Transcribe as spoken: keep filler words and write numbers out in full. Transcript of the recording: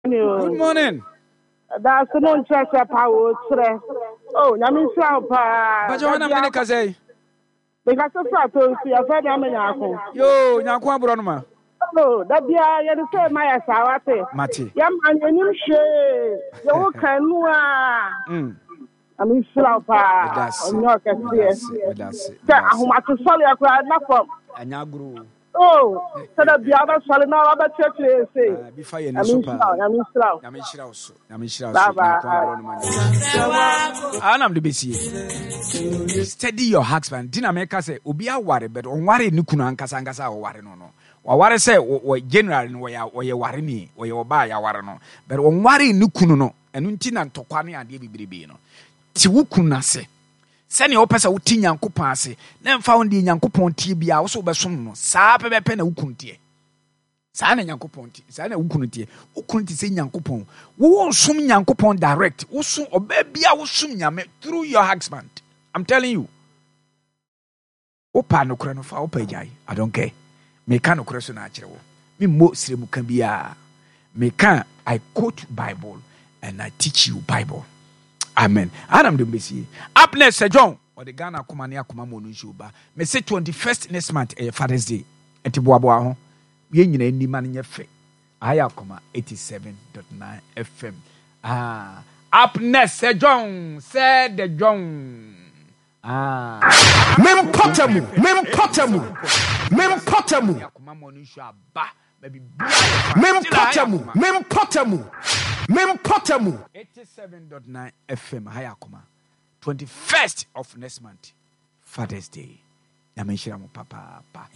Good morning. Daase no nkyerɛ sɛ pa wo kyerɛ. Oh, Nyame nhyira wo paa. Bàjẹ́ wọn nam ne ne kasa yi. Mekasa firi ato nso, yɛfrɛ me ama Nyaako. Yoo, Nyaako aborɔ no ma. Oh, da biara yɛde sɛ ma yɛ saa, wate. Mate. Yɛma yɛnim hwee. Yɛwo kan nu a. Mm. Nyame nhyira wo paa. Meda ase. Ɔnyɛ ɔkɛseɛ. Meda ase. Sɛ ahomatosɔre koraa na fam. Ɛnyɛ agorɔ o. Oh, sɛ da biara wobɛsɔre na wabɛkyerɛkyerɛ yɛ sei. Ah, bi fa yɛ ni Nyame so nhyira paa. wo, Nyame nhyira wo. Nyame nhyira wo so. Nyame nhyira wo Bye so. bye. Nyaako aborɔ no ma nyame. Anam de bɛsie. Steady your husband. Di na meka sɛ obi aware, but ɔnware ne kunu ankasa ankasa a ɔware no no. Waware sɛ wɔ wɔ general no, wɔyɛ wɔyɛ ware ni, wɔyɛ ɔbaa a yɛaware no. But ɔnware ne kunu no. Ɛno nti na ntɔkwa ne adeɛ bebrebe no. Te wo kunu n'ase. Sɛnea wopɛ sɛ wote Nyankopɔn ase na mfa wo deɛ Nyankopɔn tie biara wo so wobɛsom no saa pɛpɛpɛ na wo kunu teɛ. Saa na Nyankopɔn te, saa na wo kunu teɛ. Wo kunu te sɛ Nyankopɔn. Wo nsom Nyankopɔn direct. Wo som ɔbaa bia, wo som Nyame through your husband. I'm telling you. Wopa nokorɛ no fa, wopa agyae. I don't care. Meka nokorɛ so na akyerɛ wo. Memmɔ srɛmuka biara. Meka, I quote Bible and I teach you Bible. Amen. Anam de mbesie. Up next, Sir John. Ɔde Ghana akoma ne akoma mu no nsuo ba. Mese twenty-first next month ɛyɛ Father's Day. Nti boaboa ho. Yɛn nyinaa anim ma no nyɛ fɛ. Ayɛ Akoma eighty-seven point nine F M. Ah, up next, Sir John. Sir the John. Ah. Mempɔtamu, mempɔtamu, mempɔtamu. Akoma mu no nsuo aba. Ma biribiara yɛ fine. Still, ayɛ Mempɔtamu, Akoma. mempɔtamu, mempɔtamu. eighty-seven point nine F M, Haya Akoma. twenty-first of next month, Father's Day. Nyame nhyira mo papaapa.